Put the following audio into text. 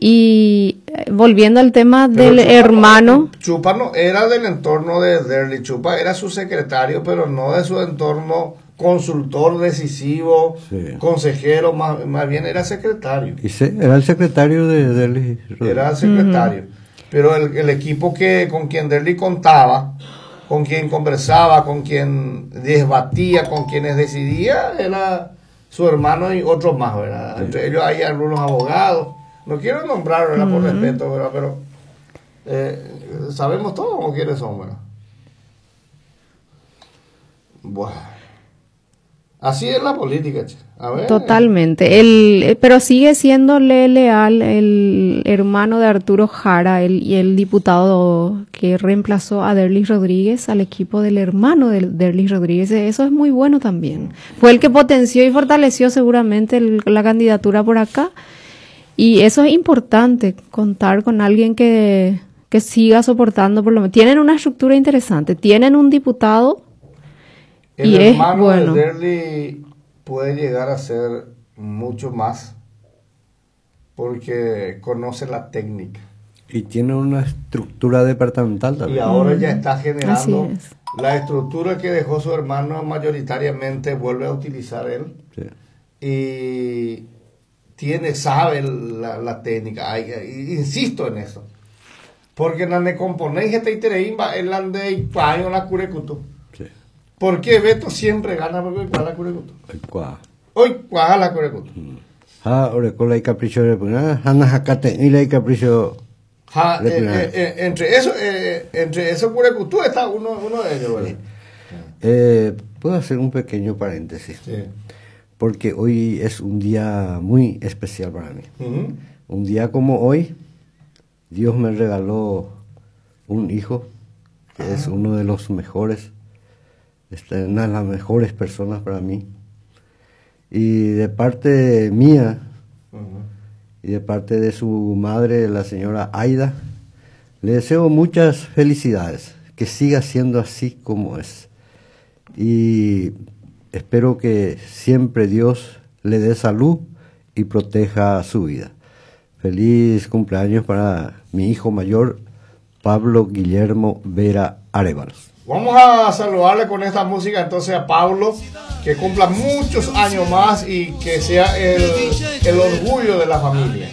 Y volviendo al tema Pero del Chupa hermano, no, Chupa no era del entorno de Derly, Chupa era su secretario, pero no de su entorno consultor decisivo, Sí. consejero, más bien era secretario. Y era el secretario de Derly Rodríguez. Era el secretario. Pero el equipo que con quien Derly contaba, con quien conversaba, con quien debatía, con quienes decidía, era su hermano y otros más, ¿verdad? Entre ellos hay algunos abogados. No quiero nombrar, ¿verdad? Por respeto, ¿verdad? Pero sabemos todos cómo quiénes son, ¿verdad? Bueno. Así es la política, che. A ver. Totalmente. Pero sigue siéndole leal el hermano de Arturo Jara y el diputado que reemplazó a Derlis Rodríguez al equipo del hermano de Derlis Rodríguez. Eso es muy bueno también. Fue el que potenció y fortaleció seguramente la candidatura por acá. Y eso es importante, contar con alguien que siga soportando por lo menos. Tienen una estructura interesante, tienen un diputado. El y es hermano bueno. de Derly puede llegar a ser mucho más porque conoce la técnica. Y tiene una estructura departamental también. Y ahora ya está generando es. la estructura que dejó su hermano mayoritariamente vuelve a utilizar él. Sí. Y sabe la técnica. Ay, insisto en eso. Porque en la componente itereimba el ande y la curecuto. Sí. ¿Por qué Beto siempre gana? Porque hoy la curecuto. Hoy cuál la curecuto. Ja, orecola y capricho de puna, jana jacate y la y capricho. Ja, entre eso, entre esos curecutú está uno de ellos, ¿verdad? ¿Puedo hacer un pequeño paréntesis? Sí. Porque hoy es un día muy especial para mí. Un día como hoy, Dios me regaló un hijo que es uno de los mejores, una de las mejores personas para mí. Y de parte mía y de parte de su madre, la señora Aida, le deseo muchas felicidades, que siga siendo así como es. Y espero que siempre Dios le dé salud y proteja su vida. Feliz cumpleaños para mi hijo mayor, Pablo Guillermo Vera Arévalos. Vamos a saludarle con esta música entonces a Pablo, que cumpla muchos años más y que sea el orgullo de la familia.